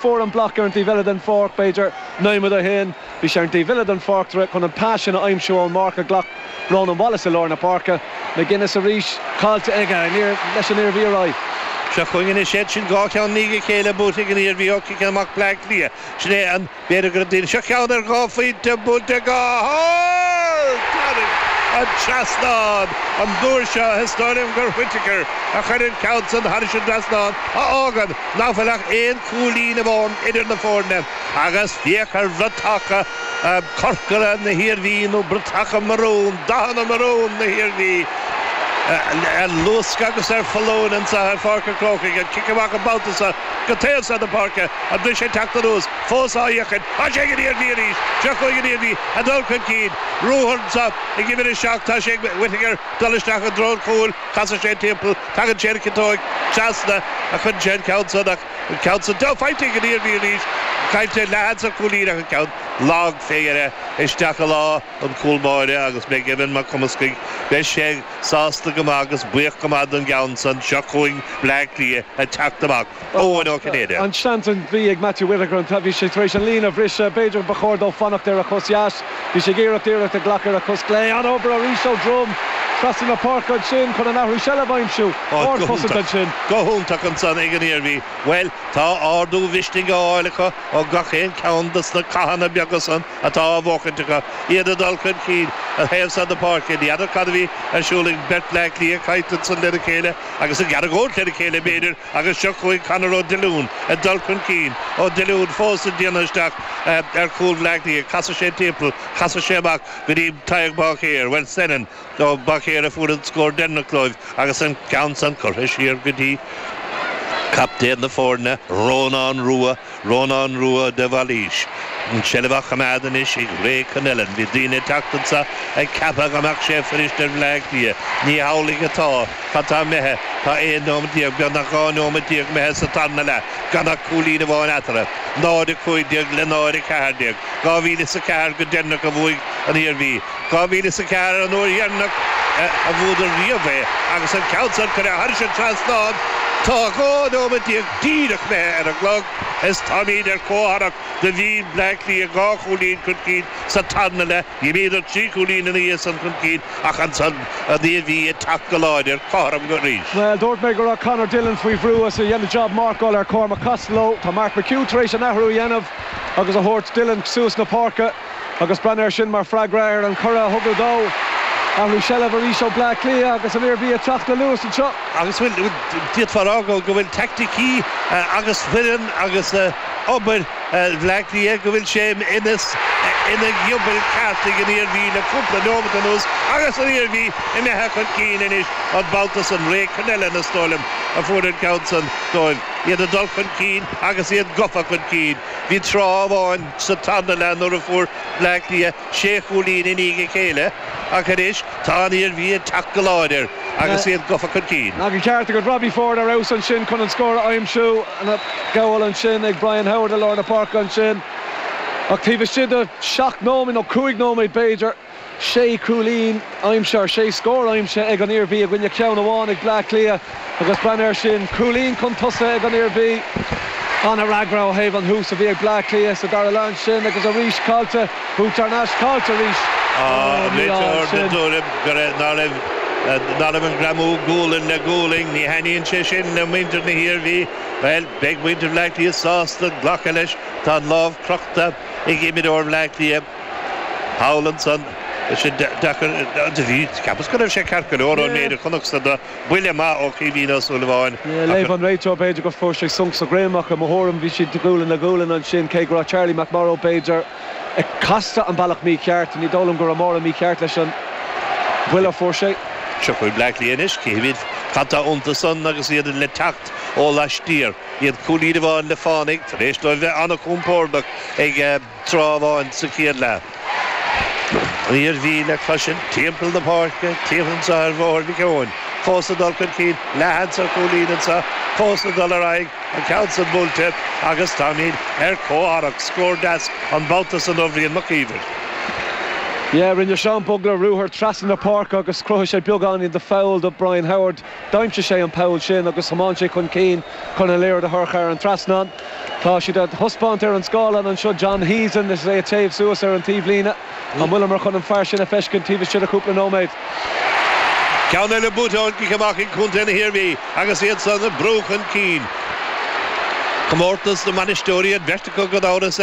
Fuair an bloc ar an taobh eile den pháirc, b'fhéidir nóiméad ó shin. Bhí sé ar an taobh eile den pháirc chun an pas sin a aimsiú ón marc a ghlac Ronan Wallace i lár na páirce. McGuinness arís caillte aige leis an Iarmhí ar aghaidh. Seo chugainn anois iad sin 2 cheann i ndiaidh a chéile buaite ag an Iarmhí ó ciceanna amach Bleá Cliath. Sin é an. B'fhéidir go raibh daoine. Seo ceann ar 2 phointe buailte go hard thar an trasnán an uair seo. Is dóigh liom gur Whittaker a chuir an ceann san thairis an dtrasnán a fhágann nach bhfuil ach aon chúilín amháin idir na foirne agus féach ar bhratacha corcra na hIarmhí nó bratacha marún, dathanna marún na hIarmhí ar luascadh agus ar foluain anseo ar Pháirc an Chrócaigh. An cic amach an babhta seo. Go taobh seo na páirce, an briseadh ag teacht anuas, fós á fhéachaint. Tá sé ag an Iarmhí arís. Seo chugainn an Iarmhí ag dul chun cinn. Ruathar anseo ag uimhir 7. Tá sé ag Whittaker dul isteach i dtreo an chúil. Casann sé timpeall. Tagann sé ar an chiotóig. Trasna a chuireann sé an ceann san ach an ceann san faighte ag an Iarmhí arís. Caillte leathsheans ar chúilín ach an ceann lag fé dheireadh isteach i lámha an chúl báire agus beidh Evan Mac Cumascaigh, beidh sé sásta go maith agus buíoch go maith don gceann san. Seo chugainn Bleá Cliath ag teacht amach. Eoin Ó Cinnéide. An seans a bhí ag Matthew Whittaker an bhí sé tar éis an líne a bhriseadh. B'fhéidir ba chóir dó fanacht ar a chos dheas. Bhí sé ag iarracht iarracht a ghlacadh ar a chos clé. An-obair arís ó Drumm trasna na páirce ansin chun an athrú seilbh a aimsiú. Ardchosaint ansin. Go hiontach ansan ag an Iarmhí. Bhuel, tá ardú mhisnigh á fháil acu ó gach aon cheann dos na cathanna beaga san. atá á bhuachaint acu, iad ag dul chun cinn ar thaobh san na páirce. Ní fheadar cad a bhí ar siúl ag beirt Bhleá Cliath ag caint ansan lena chéile agus ag argóint lena chéile, b'fhéidir, agus seo chugainn Conor Ó Diollúin ag dul chun cinn. Ó Diollúin fós ag déanamh isteach ar chúl Bhleá Cliath. Casann sé timpeall, casann sé amach go dtí Tadhg Báicéir. Bhuel, Senan Ó Báicéir a fuair an scór deireanach dóibh agus an ceann san curtha siar go dtí captaen na foirne, Rónán Rua. Rónán Rua de Bhailís. An tseilbh á choimeád anois ag Ray Connellan. Bhí daoine ag teacht anso ag ceapadh go mbeadh sé fuirist ar Bhleá Cliath. Ní hamhlaidh atá. Cad tá imithe? Tá 11 nóiméad, beagnach 12 nóiméad imithe sa tarna leath, gan ach cúilín amháin eatarthu. 0-15 le 0-14. 2004 go deireanach a bhuaigh an Iarmhí. 2004 an uair dheireanach a bhuadar riamh é agus an ceann san curtha thairis an trasnán. Tá 12 nóiméad díreach imithe ar an gclog is táimíd ar comhtharrac. Do bhí Bleá Cliath dhá chúilín chun cinn sa tarna leath. D'imíodar trí chúilín ina dhiaidh san chun cinn ach ansan an Iarmhí ag teacht go láidir cothrom arís. Bhuel, dúirt mé go raibh Conor Dillon faoi bhrú is é ag déanamh jab marcáil ar Cormac Costello. Tá Mark McHugh tar éis an athrú a dhéanamh agus a thabhairt Dillon suas na páirce. Agus breathnaigh air sin mar freagra ar an chuireadh a thugadh dó. Athrú seilbhe arís ó Bleá Cliath agus an Iarmhí ag teacht le luas anseo. Agus bhuel, d'fhéadfá a rá go bhfuil teaicticí agus foireann agus obair Bhleá Cliath, go bhfuil sé ina ina ghiobal ceart ag an Iarmhí le cúpla nóimeat anuas agus an Iarmhí imithe chun cinn anois an babhta san. Ray Connellan, is dóigh liom, a fuair an ceann san dóibh. Iad ag dul chun cinn agus iad gafa chun cinn. Bhí tráth amháin sa tarna leath nuair a fuair Bleá Cliath sé chúilín i ndiaidh a chéile ach anois tá an Iarmhí ag teacht go láidir agus iad gafa chun cinn. Ach an ceart agat, Robbie Ford ar fheabhas ansin chun an scór a aimsiú. An gabháil ansin ag Brian Howard i lár na páirce ansin ach taobh istigh de sheacht nóiméad nó cúig nóiméad b'fhéidir. Sé chúilín aimsithe, sé scór aimsithe ag an Iarmhí i gcoinne ceann amháin ag Bleá Cliath agus breathnaigh air sin, cúilín chun tosaigh ag an Iarmhí. An-fhreagra ó thaobh an thús a bhí ag Bleá Cliath sa dara leath ansin agus arís caillte, buaite thar n-ais, caillte arís. An réiteoir den tuairim go raibh, ná raibh, ná raibh an greamú gualainn le gualainn, ní thaitníonn sé sin le muintir na hIarmhí. Bhuel, beidh muintir Bhleá Cliath sásta glacadh leis, tá an lámh crochta ag imreoir Bhleá Cliath. Thall ansan, sin deacair, do bhí, cheapas go raibh sé ceart go leor ón méid a chonacsa de, buille maith ó Chaoimhín Ó Súilleabháin. Léamh an réiteoir, b'fhéidir gur fuair sé sonc sa dhroim ach i mo thuairim bhí siad gualainn le gualainn ansin cé go raibh Charlie McMorrow b'fhéidir ag casadh an bealach mícheart. Ní dóigh liom go raibh mórán mícheart leis an bhuille a fuair sé. Seo chugainn Bleá Cliath anois, cífimid cad tá iontu san agus iad le teacht ó laistiar. Iad cúilín amháin le fánaidh tar éis dóibh bheith an-chompordach ag. tráth amháin sa chéad leath. An Iarmhí le cloisint timpeall na páirce, timpeall anseo ar Bhóthar Mhic Eoin. Fós ag dul chun cinn, leathsheans ar chúilín anseo, fós ag dul ar aghaidh, an ceann san buailte agus táimid ar comhtharrac. Scór deas an babhta san ó Bhrian Mac Íomhair. Yeah, rinne Seán Bugler ruathar trasna na páirce agus chruthaigh sé beagáinín de pholl do Brian Howard. D'aimsigh sé an poll sin agus thiomáin sé chun cinn chun an liathróid a chur thar an trasnán. Tá siad á thaispeáint ar an scáileán anseo, John Heason is é ag téamh suas ar an taobhlíne. An bhfuileamar chun an fear sin a feiscint taobh istigh de chúpla nóiméad? Ceann eile buaite ón gcic amach ag contae na hIarmhí agus iad san ag brú chun cinn. Comórtas na mbainisteoirí an bheirt acu gan amhras.